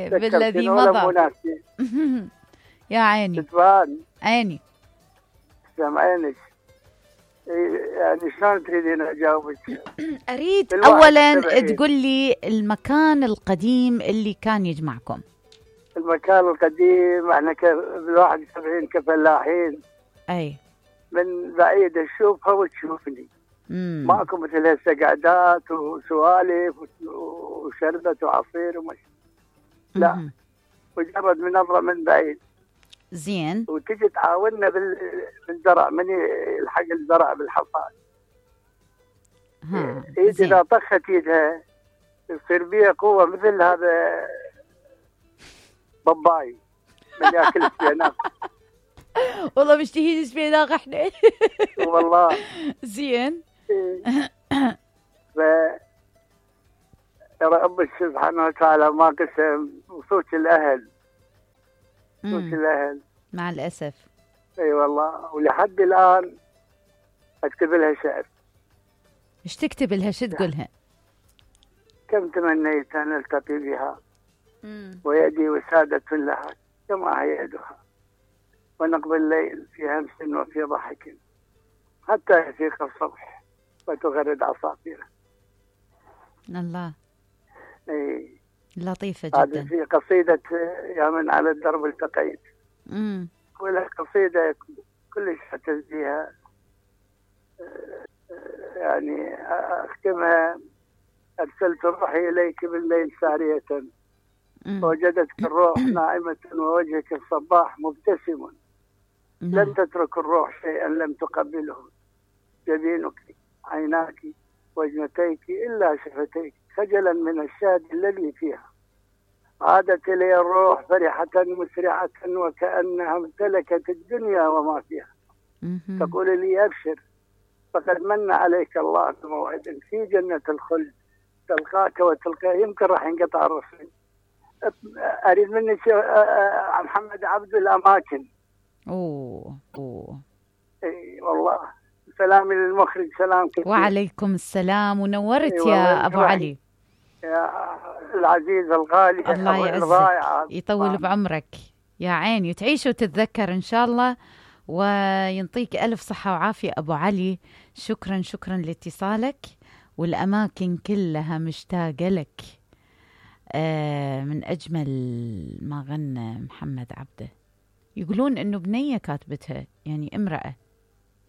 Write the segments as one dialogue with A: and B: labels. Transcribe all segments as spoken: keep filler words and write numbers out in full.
A: بالذي مضى. يا عيني
B: تتفان
A: عيني.
B: سامعينك. يعني شلون تريدين اجاوبك؟
A: اريد اولا تقول لي المكان القديم اللي كان يجمعكم.
B: المكان القديم احنا بالواحد وسبعين كفلاحين.
A: اي.
B: من بعيد اشوفها وتشوفني.
A: امم
B: ماكو مثل هسه قعدات وسوالف وشربت وعصير ومش. لا مجرد من نظره من بعيد.
A: زين.
B: وتجي تعاوننا بالزرع، من الحق الزرع بالحصاد.
A: ها
B: ايد اذا طخت ايدها يصير بيها قوه مثل هذا باباي من ياكل السبيناق.
A: والله مشتهين سبيناق احنا.
B: والله.
A: زين.
B: ف رب سبحانه وتعالى ما قسم وصوت الاهل. صوت الاهل
A: مع الاسف.
B: اي والله. ولحد الان اكتب لها شعر.
A: ايش تكتب لها؟ شو تقولها؟
B: كم تمنيت ان التقي بها
A: مم.
B: ويدي وسادة لها كما هي يدها، ونقضي الليل في همس وفي ضحك حتى يفيق الصبح وتغرد عصافيره.
A: الله.
B: اي
A: لطيفة جدا.
B: هذه في قصيدة يا من على الدرب التقيت.
A: امم
B: ولا قصيدة كلش اعتز بها، يعني اختمها: ارسلت روحي اليك بالليل سارية ووجدتك الروح نائمة ووجهك الصباح مبتسم. لم تترك الروح شيئا لم تقبله، جبينك عيناك وجنتيك إلا شفتيك خجلا من الشاد الذي فيها. عادت إلي الروح فرحة مسرعة وكأنها امتلكت الدنيا وما فيها. تقول لي أبشر فقد من عليك الله بموعد في جنة الخلد تلقاك وتلقاه. يمكن راح ينقطع الرسول. أريد منك محمد عبد الأماكن.
A: أوه أوه.
B: اي والله. سلامي للمخرج. سلام كثير.
A: وعليكم السلام ونورت يا أبو علي.
B: يا العزيز الغالي.
A: الله يعزك يطول بعمرك يا عيني، تعيش وتتذكر إن شاء الله، وينطيك ألف صحة وعافية أبو علي. شكرا شكرا لاتصالك، والأماكن كلها مشتاقة لك. آه من أجمل ما غنى محمد عبده. يقولون إنه بنية كاتبتها، يعني امرأة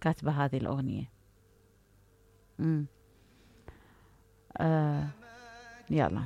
A: كاتبة هذه الأغنية. امم آه يلا.